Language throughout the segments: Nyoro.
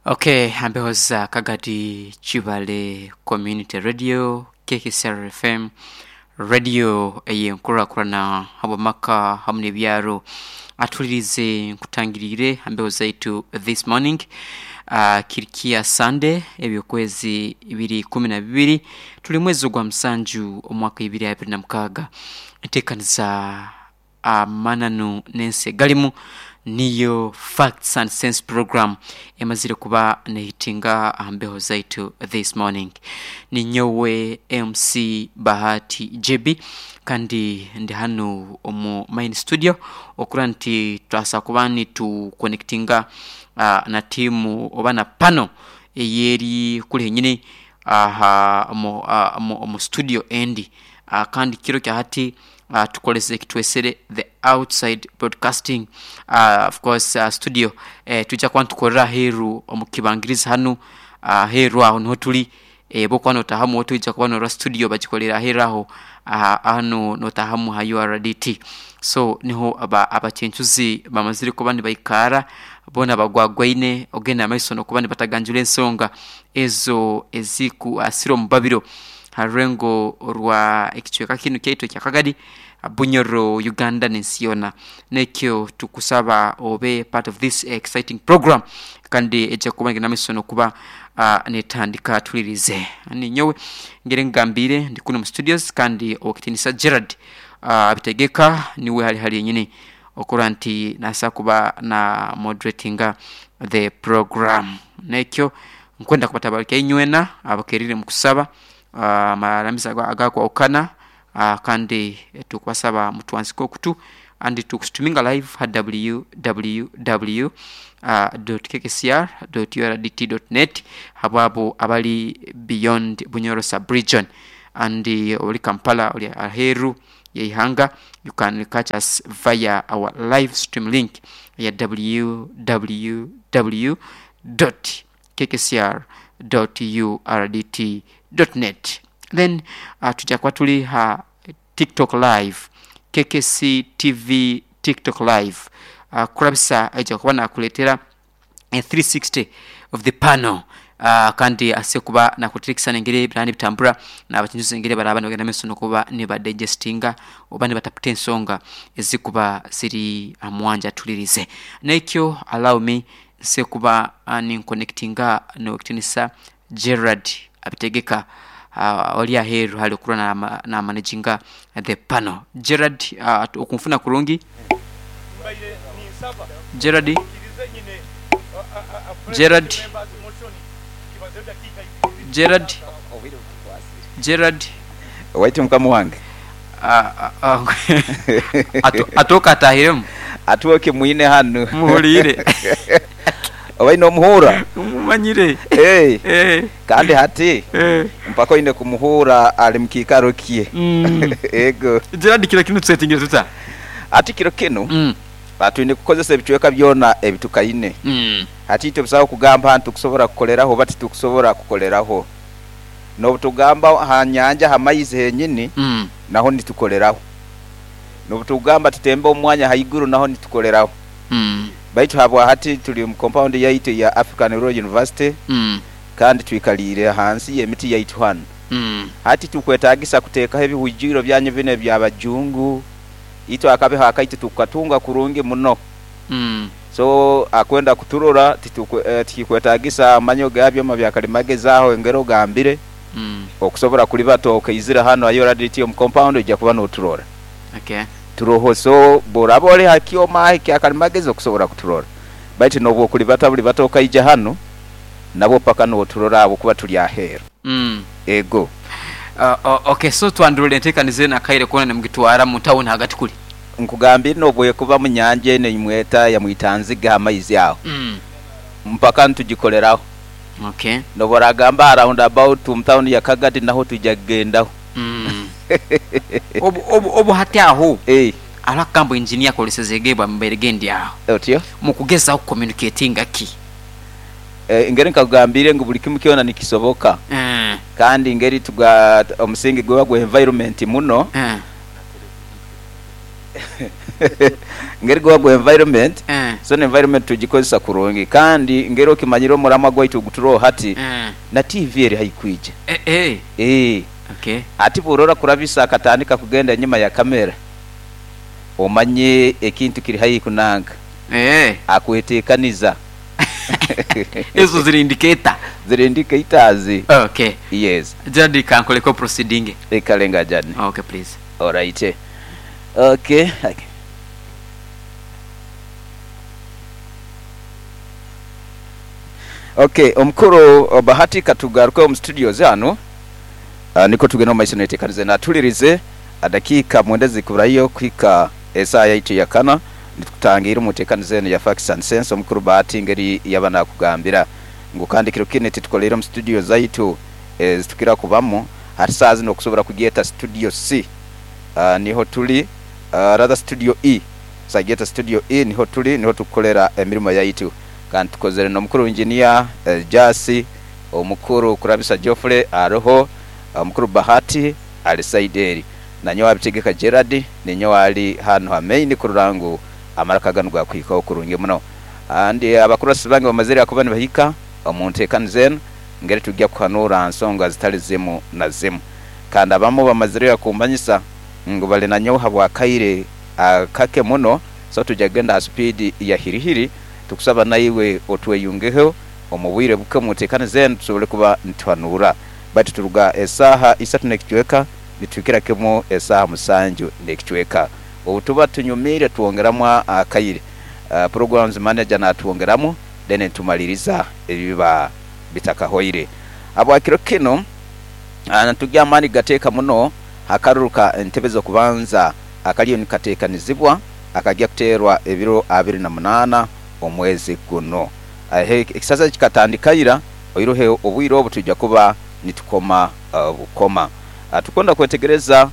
Okay, hambeho za Kagadi Kibale Community Radio, KKCR FM, radio ey'enkurakurana habw'amaka hamu n'ebyaro. Atulirize nkutangiriire hambeho zaitu this morning. Kirikia Sunday eby'okwezi biri 12 tuli mwezi ogwa musanju omwaka 2026. Enteekaniza amananu n'ensi egalimu niyo Facts and Sense program emazire kuba nehitinga aha mbeho zaitu this morning. Ninyowe MC Bahati JB kandi ndi hanu omu main studio okura nti twasa kuba nitu connectinga na tiimu oba na pano eyeri kuli henyini aha omu studio endi. Kandi kiro kya hati tukolese ekitwesere the outside broadcasting of course studio twija kuba nitukorera aheeru omu kibangirizi hanu aheeru aho niho tuli bwokuba notahamu otwija kuba norora studio bagikolere aheeru aho hanu notahamu ha URDT. So niho abacencuzi bamazire kuba nibaikara boona bagwagwaine ogenda mumaiso nokuba nibataganjura ensonga ezo ezikuasira omubabiro ha rurengo rwa ekicweka kinu kyaitu ekya Kagadi, Bunyoro, Uganda n'ensi yoona. Nekyo tukusaba obe part of this exciting program kandi eja kuba negenda mumaiso nokuba netandika tulirize. Ninyowe ngeri nkugambiire ndi kunu omu studios kandi owekitinisa Gerald Abitegeka niwe hali hali yenyini okurora nti nasobola kuba na moderatinga the program. Nekyo nkwenda kubatabarika inywena abakerire mukusaba amaramizo agakwahukana kandi tukubasaba mutwanzike okutu and tukustuminga live ha www kkcr urdt net habwabo abali beyond Bunyoro sub region and oli Kampala oli aheeru yeihanga you can catch us via our live stream link eya www kkcr urdt net. Then twija kuba tuli ha tiktok live, KKC TV tiktok live kurabisa aija kuba nakuleetera a 360 of the panel kandi asobole kuba nakuleetera ekisani engeri ebiraba nibitambura n'abakinjuzi engeri baraba nibagenda mumaiso n'okuba nibadigestinga oba nibataputa ensonga ezikuba ziri aha mwanja atulirize. Nekyo allow me nsobole kuba ninkonectinga n'owekitinisa Gerald Abitegeka ori aheeru hali okuba na managinga the panel. Gerald okunfuna kurungi? Gerald? Gerald? Gerald? Gerald? Waitu mukama wange. Atooke ataahiremu. Atooke mwine hanu. Muhuliire. Obaire nomuhuura? Mumanyire. Eeh. Kandi hati mpaka oine kumuhuura ali mu kiikaro kye. Ego. Gerald kiro kinu tusetingire tuta? Hati kiro kinu twine kukozesa ebicweka byona ebitukaine. Hati itwe busaho kugamba nti tukusobora kukoleraho oba titukusobora kukoleraho. N'obutugamba ha nyanja ha maizi henyini naho nitukoleraho. N'obutugamba tutembe omu mwanya haiguru naho nitukoleraho. Baitu habwa hati tuli omu compound yaitu eya African Rural University kandi twikaliire hansi y'emiti yaitu hanu. Hati titukwetagisa kuteekaho ebihwijwiro byanyu binu eby'abajungu, itwe akabeho akaitu tukukatunga kurungi muno. So akwenda kuturora tikikwetagisa amanyo ga byoma bya kalimagezi aho engeri ogambire okusobora kulibata okaizire hanu ha URDT omu compound oija kuba noturora. Turoho so bworaba ori ha kyoma aho ekya kalimagezi okusobora kuturora baitu nobwokulibata bulibata okaija hanu nabwo paka noturora ahabwokuba turi aheeru. Ego. Ok so twandurora entekaniza enu akaire koona nimugitwara mu tawuni hagati kuli? Nkugambire nobwekuba mu nyanja eno eyimweta ya Mwitanziga ha maizi aho mpaka nitugikoleraho. Nobworagamba ha round about omu tawuni ya Kagadi naho twija kugendaho. Obu hati aho hariho akagambo engineer akoreseze bwa mbaire gendi aho. Otyo? Mukugezaho ku communicatinga ki? Engeri nkakugambiire ngu buli kimu kyona nikisoboka kandi engeri omusingi guba gwa environment muno. Ngeri gwa gwa environment. So environment tugikozesa kurungi, kandi ngeri okimanyire omuramwa gwaitu oguturoho hati na TV eri haihi kwija. Ati bworora kurabisa akatandika kugenda enyuma ya kamera, omanye ekintu kiri haihi kunanka. Akwetekaniza. Ezo ziri indicator. Ziri indicators. Okay. Yes. Jadi kankoleko proceeding. Kale nga Jadi. Okay please. Alright. Okay. Okay, omukulu Bahati katugaruke omu studios hanu nikwo tugende omu maiso netekaniza eno. Atulirize dakiika mwenda ezikuburayo kuhika esaaha yaitu eyakana nitukutangiira omu ntekaniza eno ya Facts and Sense. Omukulu Bahati ngeri yaba nakugambira ngu kandi kiro kinu titukoleire omu studio zaitu ezitukira kubamu hati saaha zinu okusobora kugyeta studio C niho tuli rather studio E sagyeta studio E niho tuli niho tukukolera emirimo yaitu. Kandi tukozere n'omukuru Engineer Jasi, omukuru Kurabisa Geoffrey aroho, omukuru Bahati ali side eri. Nanyowe Abitegeka Gerald ninyowe ali hanu ha main kurora ngu amaraka ganu gakuhikaho kurungi muno. And abakurasi bange bamazire kuba nibahika omu ntekaniza enu ngeri tugya kuhanura ha nsonga zitali zimu na zimu. Kandi abamu bamazire kumanyisa ngu bali nanyowe habwakaire kake muno, so tugya kugenda ha speed ya hirihiri. Tukusaba naiwe otweyungeho omu bwire buke omu ntekaniza enu tusobole kuba nituhanura. Baitu turuga esaaha isatu n'ekicweka nituhikira kimu esaaha musanju n'ekicweka. Obu tuba tunyumiire twongeramu akaire. Programs manager natwongeramu then nitumaliriza ebiba bitakahoire. Habwa kiro kinu nitugya amaani kugateeka muno ha karuru ka ntebe z'okubanza akaliyo nikateekanizibwa akagya kuteerwa ebiro 28 omwezi guno. Ekisaza kikatandika ira, oiroho obwire obu twija kuba nitukoma bukoma. Tukwenda kwetegereza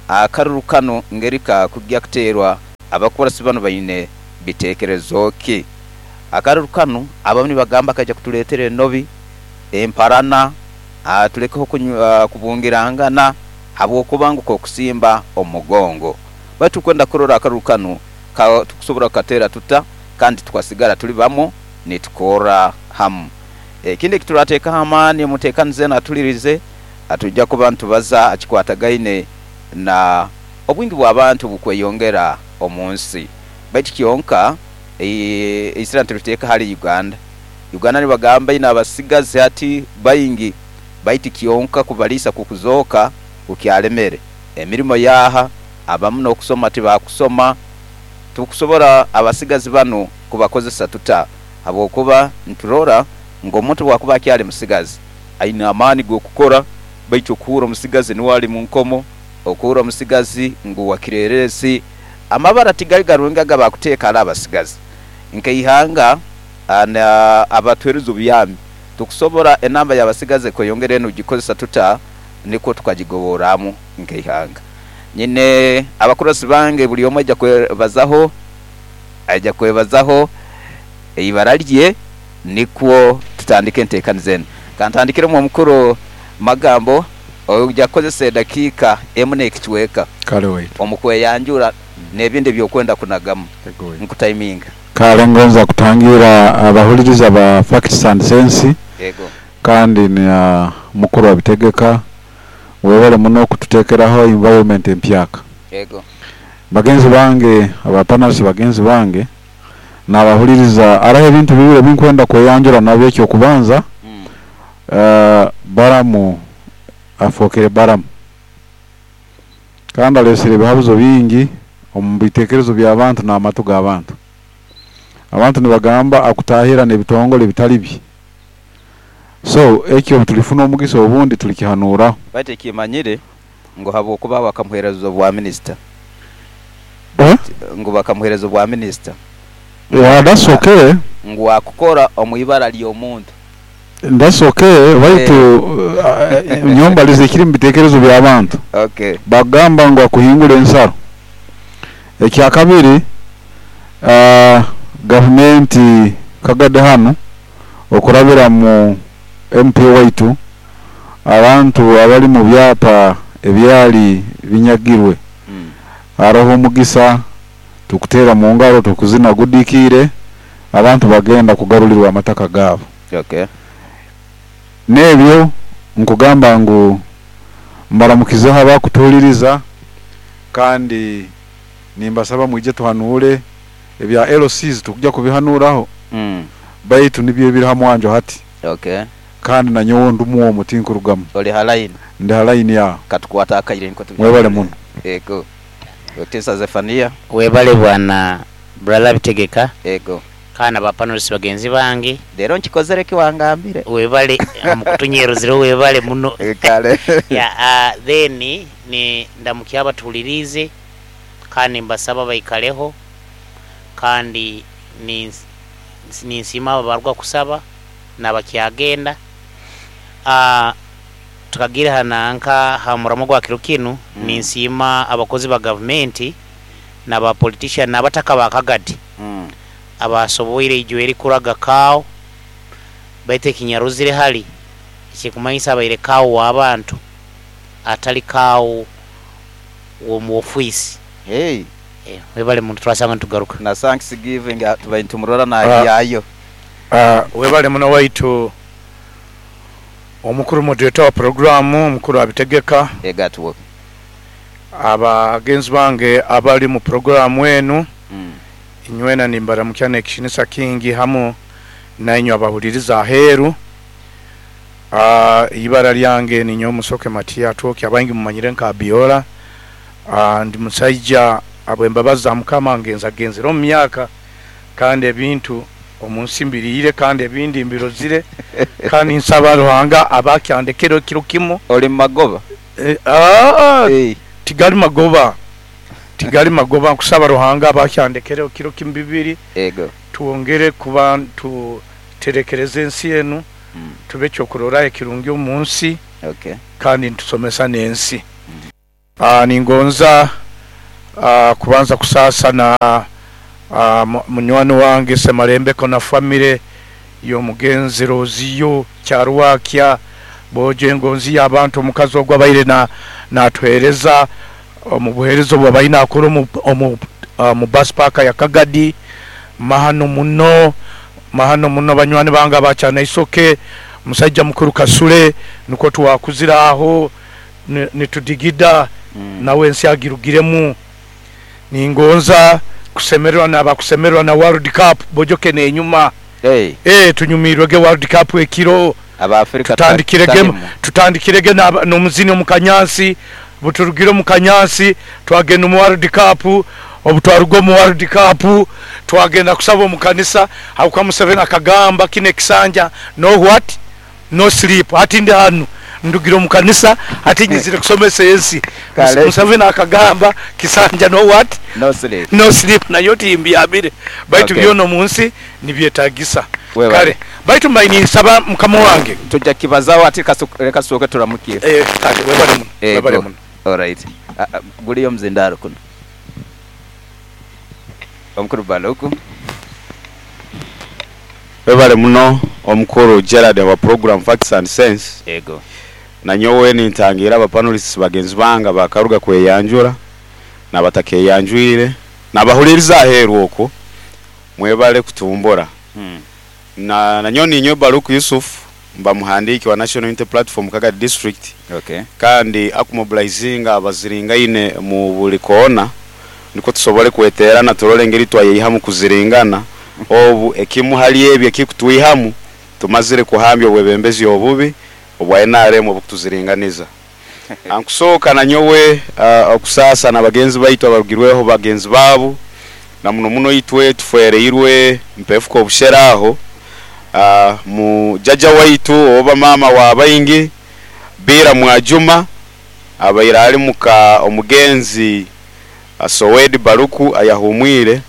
akaruru kanu ngeri kakugya kuteerwa, abakurasi banu baine biteekerezo ki? Akaruru kanu abamu nibagamba kaija kutuleetera enobi, emparana, tulekeho kubungirangana habw'okuba ngu k'okusimba omugongo. Baitu tukwenda kurora akaruru kanu tukusobora kukateera tuta kandi tukasigara tuli bamu nitukorra hamu. Ekindi ekiturateekaho amaani omu nteekaniza enu atulirize, twija kuba nitubaza ha kikwatagaine na obwingi bw'abantu bukweyongera omu nsi. Baitu kyonka eisira nituliteeka hali Uganda. Uganda nibagamba eine abasigazi hati baingi baitu kyonka kubaliisa kukuzooka kukyalemere. Emirimo yaaha, abamu n'okusoma tibakusoma. Tukusobora abasigazi banu kubakozesa tuta? Habwokuba niturora ngu omuntu obwakuba akyali musigazi aine amaani g'okukora, baitu okuhurra omusigazi nuwe ali mu nkomo, okuhurra omusigazi ngu wa kireerezi, amabara tigali garungi aga bakuteeka hali abasigazi. Nk'eihanga abatuheereza obuyambi, tukusobora enamba y'abasigazi ekweyongera enu kugikozesa tuta nikwo tukagigoborramu nk'eihanga. Nyine abakurasi bange buli omu aija kwebazaho, aija kwebazaho eibara lye nikwo tutandike enteekaniza enu. Kantandikiremu omukuru Magambo, oija kukozesa edakiika emu n'ekicweka Kale waitu. omu kweyanjura n'ebindi eby'okwenda kunagamu. Ego waitu. Nkutaiminga. Kale ngonza kutangira abahuliriza ba Facts and Sense Ego. kandi na mukuru Abitegeka webale muno kututekeraho environment empyaka. Ego. Bagenzi bange aba panelists bagenzi bange nabahuliriza hariho ebintu bibiri ebinkwenda kweyanjura nabyo. Ekyokubanza, Baramu afookere Baramu kandi alesere ebihabuzo bingi omu bitekerezo by'abantu n'amatu g'abantu. Abantu nibagamba akutahira n'ebitongole bitali bye. So ekyo tulifuna omugisa obundi tulikihanuraho. Baitu ekimanyire ngu habwokuba bakamuheereza obwa minisita. Ngu bakamuheereza obwa minisita. Yeah, that's okay. Ngu akukora omu ibara ly'omuntu. That's okay, baitu nyowe mbaliza ekiri mu bitekerezo by'abantu. Bagamba ngu akuhingura ensaro. Ekyakabiri, gavumenti kagade hanu okurabira mu MP waitu abantu abali mu byapa ebyali binyagirwe. Haroho omugisa Tukuteera mu ngaro, tukuzina gudikiire, abantu bagenda kugarulirwa amataka gaabo. N'ebyo nkugamba ngu mbaramukizeho abakutuhuliriza, kandi nimbasaba mwije tuhanuure ebya LCs, tukujja kubihanuraho, baitu nibyo ebiri ha mwanjo hati. Kandi nanyowe ndumu omu tinkurugamu. Oli ha line. Ndi ha line yaho. Katukwata akaire niko Mwebale muno. Ego. Otesa Zefania. Webale bwana brother Bitegeka. Ego. Kana ba panelists bagenzi bange. Lero nkikozere ki wangambire. Webale mukutunyeruzire webale muno. Kale. Ya, then ni ndamukya abatulirize kandi mbasaba baikaleho, kandi ni nsima abarwa kusaba nabakyagenda. Tukagira hananka ha muramo gwa kiro kinu, ni nsima abakozi ba government n'aba politician n'abataka ba Kagadi. Abasoboire ijo eri kuraga kao baite kinyaruzire hali ekikumanyisa abaire kao w'abantu atali kao wo mu office. Hey. Webale muntu twasanga ntugaruka. Na thanksgiving tubaye tumurora na yayo. Webale muno waitu omukuru moderator wa programu omukuru abitegeka. Egatuwo. Abagenzi bange abali mu programu enu. Inywena nimbaramukya n'ekitinisa kingi hamu nainywe abahuliriza aheeru. Ibara lyange ni Nyomusoke Matia Atoki, abangi mumanyire nka Abiola. Ndi musajja abwembabazi za Mukama ngenza genzera omu myaka, kandi ebintu omu nsi mbiriire, kandi ebindi mbirozire, kandi nsaba Ruhanga abakyandekere kiro kimu. Oli magoba? Tigali magoba. Tigali magoba, nkusaba Ruhanga abakyandekere kiro kimu bibiri. Ego. Tuongere kuba tuterekereze ensi enu, tube kyokurora ekirungi omu nsi. Kandi ntusomesa n'ensi. Ningonza kubanza kusasa na munywani wange Semarembeko na famire y'omugenzi Roziyo Kyarwakya boje ngonzi y'abantu omukazi ogwo abaire natwereza omu buheereza obwo abaine akora omu bus park ya Kagadi. Mahano muno, mahano muno banywani bange abakyana isoke musajja mukuru Kasule niko twakuzira aho nitudigida nawe ensi agirugiremu. Ningonza kusemererwa n'abakusemererwa na World Cup bojoke nenyuma. Hey. Tunyumirwege World Cup ekiro. Aba Afrika tutandikirege n'omuzini omu Kanyansi, buturugire omu Kanyansi twagenda mu World Cup, obutwaruga mu World Cup twagenda kusaba omu kanisa hakuka Museveni akagamba kine kisanja no what no sleep, ati ndi hano ndugire omu kanisa ati nyizire kusomesa ensi. Museveni akagamba kisanja no what no sleep, no sleep, nayo timbyabire baitu byona mu nsi nibyetagisa. Kale baitu mbaini nsaba mukama wange tujja kibazawo ati reka soke turamukiye. Kale webale muno, webale muno. All right. Guliyo mzindaro kuno omukuru Baluku. Webale muno omukuru Gerard wa program Facts and Sense. Ego. Na nyowe nintangira aba panelists bagenzi banga bakaruga kweyanjura nabatakeyanjwire nabahuliriza aheru okwo mwebale kutumbora. Na nyoni nyowe Baluku Yusuf mba muhandiki wa National Unity Platform Kagadi District. Kandi akumobilizinga abaziringaine mu buli koona niko tusobole kweterana turole ngeri twayeyihamu kuziringana obu ekimu hali ebyo ekikutwihamu tumazire kuhambya obwebembezi obubi obwa NRM obukutuziringaniza. Ankusooka na nyowe okusasa na bagenzi baitu abarugirweho bagenzi baabo na muno muno itwe tufereirwe mpefuko obusheraho mu jaja waitu oba mama wa baingi Bira Mwajuma abaira ali muka omugenzi Sowedi Baluku ayahumwire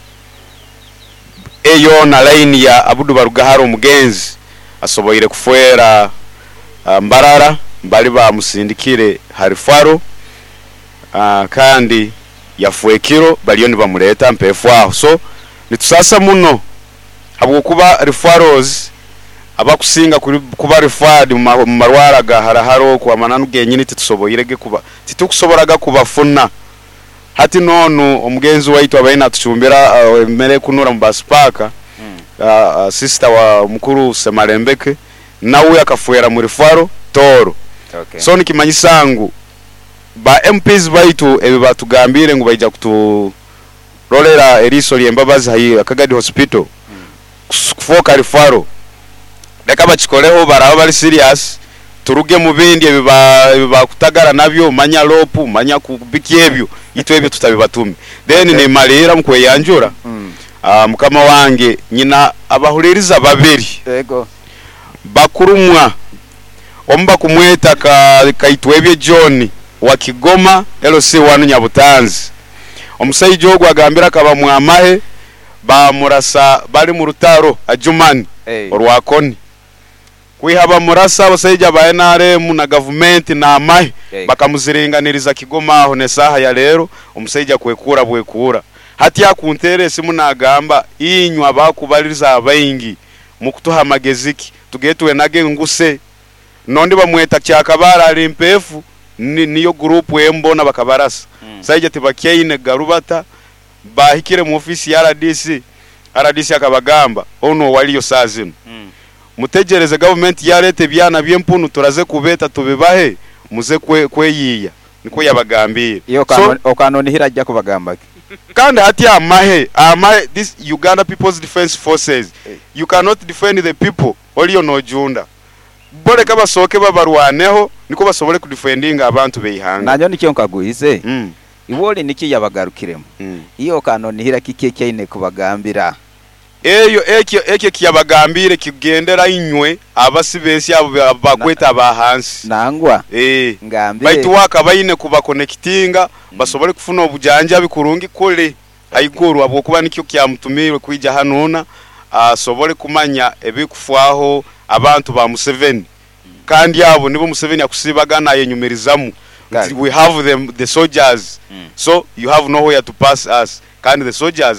eyo na line ya Abudu Barugahara omugenzi asoboire kufuera Mbarara mbali bamusindikire harifaro kandi yafuekiro baliyo nibamuleta mpefu aho. So nitusasa muno habwokuba referrals abakusinga kuba referred mu marwara ga haraharo kwa mananu genyini titusoboirege kuba titukusoboraga kubafuna Hati nonu omugenzi waitu abaine atucumbira emmere ekunura mu basipaaka, sister wa mukuru Semalembeke, nawe akafwera mu referral Tooro. So nikimanyisa ngu ba MPs baitu ebi batugambire ngu baija kuturolera eriiso ly'embabazi ha Kagadi Hospital kufooka referral, leka bakikoleho, baraba bali serious, turuge mu bindi ebi bakutagara nabyo, manya lopu, manya kubiki ebyo, itwe ebyo tutabibatume. Then nimalira mu kweyanjura. Mukama wange, nyina abahuliriza babiri. Bakurumwa omu bakumweta Kaitwebye John wa Kigoma LC1 Nyabutanzi. Omusaija ogwo agambira akaba mwamahe bamurasa bali mu rutaro Ajumani orwakoni. Kwiha bamurasa abasaija ba NRM na gavumenti na amahe bakamuziringaniriza Kigoma aho nesaha ya lero omusaija kwekura bwekura. Hati akuntere esimu nagamba inywa bakubaliriza abaingi mukutuha amageziki tugetwe nage nguse. Nondi bamweta Kyakabara ali mpefu niyo group embona bakabarasa. Saija tibakyaine garubata bahikire mu ofisi ya RDC. RDC akabagamba ono waliyo saa zino. Mutegereze government yarete byana byempunu turaze kubeta tubibahe muze kweyiya. Niko yabagambire. Iyo okanonihira ajja kubagamba ki? Kandi hati amahe this Uganda People's Defense Forces. You cannot defend the people oliyo nojunda. Boleka basoke babarwaneho niko basobole kudefendinga abantu beihanga. Nanyo nikyo nkaguhize. Iwoli niki yabagarukiremo. Iyo kanonihira kike kyaine kubagambira. Eyo ekyo kiyabagambire kigendera inywe abasibensi abo bakweta abahansi. Nangwa. Ngambire. Baitu wakabaine kubakonectinga basobole kufuna obujanja bikurungi kule haiguru abwokuba nikyo kyamutumirwe kwija hanona asobole kumanya ebikufwaho abantu ba Museveni. Kandi abo nibo Museveni akusibagana yenyumirizamu. We have them the soldiers. So you have nowhere to pass us. Kandi the soldiers